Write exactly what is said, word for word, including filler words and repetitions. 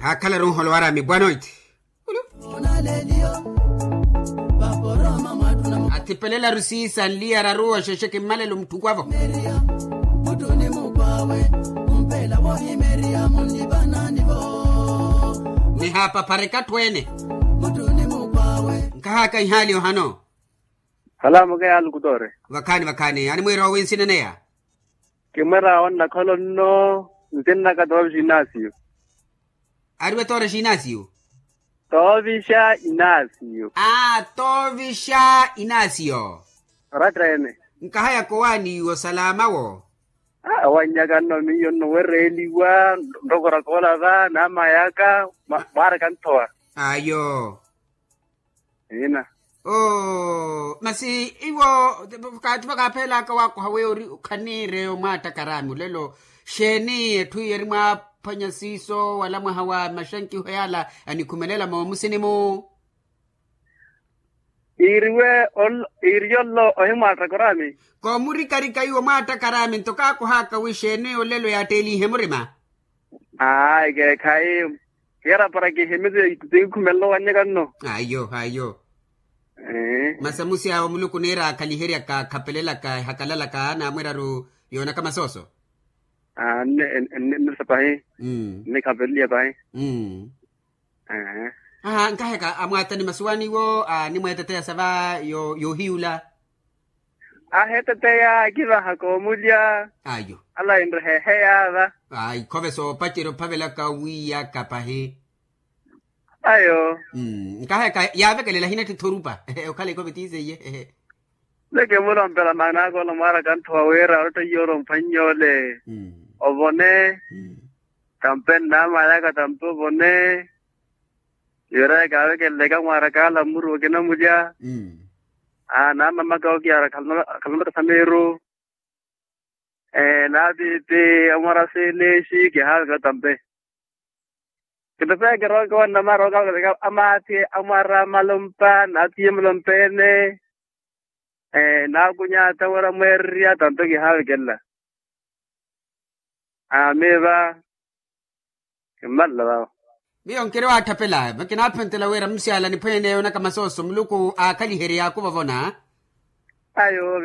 Akhalaru nholo waraami bwanoiti. Athipelelaru siisa nliyararu oxexe kimmalelo mutthukwavo. Nihaapaphareka atthu ene. Nkahaka ihaali ohano. Halamuke ya alukutore. Vakhaani vakhaani animwiira owi nsinaneya. Kimwera onnakhola onno. Nsinnaka toovixa inasiyo. Ariwe toorexa inasiyo. Toovixa inasiyo. Aa toovixa inasiyo. Oratta ene. Nkahayaka owaani iwo salama wo. Awannyaka nno miyo nno wereeliwa. Nrokoraka olava namayaka. Mwaaraka nthowa. Ayo. Ina. Oo masi iwo. Kaati vakaapheyelaka waakoha weyo ori khaniireyo mwaattakaraami olelo. Xeeni etthu iye eri mwaaphwanya siiso wala mwaha wa maxankiho yaala anikhumelela moomusini-mu. Iiriwe iiri yollo ohimwaattakaraami. Koomurikarika iwo mwaattakaraami nto kaakohaka wi xeeni olelo yaatteelihe murima. Aai keekhayi. Kiyarapara kihimisi. Tinkhumelela owannyaka nno. Ayo ayo. Masi amusi awo muluku niira akhaliheryaka akhapelelaka ehakalalaka naamwiraru. Yoonaka masooso. Aa nne nne nne sa pahi. Nnikhapeleliya pahi. Aa nkaheka amwaatani masi waaniwo animweeteteya sa va. Yoohiyula. Aheeteteya akivaha koomulya. Ayo. Ala inreheheya va. Ayi khove soopacerya ophavelaka wiyaka pahi. Ayo. Nkaheka yaavekelela hinattitha orupa. Okhala ikove tiiseiye. Neke mulompela maana aka ola mwaaraka nthowa wira otta iyoora omphwannye ole. Ovone. Tampe nnamayaka tampe ovone. Yooraya kaavekelelaka mwaaraka ala mmuru okinamulya. Aa naamamaka okiyaara akhalonaka sa miiru. Naatiithi amwara seenexi kihaaveka tampe. Kinto saya kirooka onnamara okavekelelaka amaathi amwara amalompa naathiye malompa ene. Naakunya atamwera mweererya tampe kihaavekelela. Aamiiva. Kimmalela vavo. Miyo nkiri waattapela makinaaphontela wira musiala niphwene yoonaka masooso muluku aakhaliherye yaakuvovona. Ayo.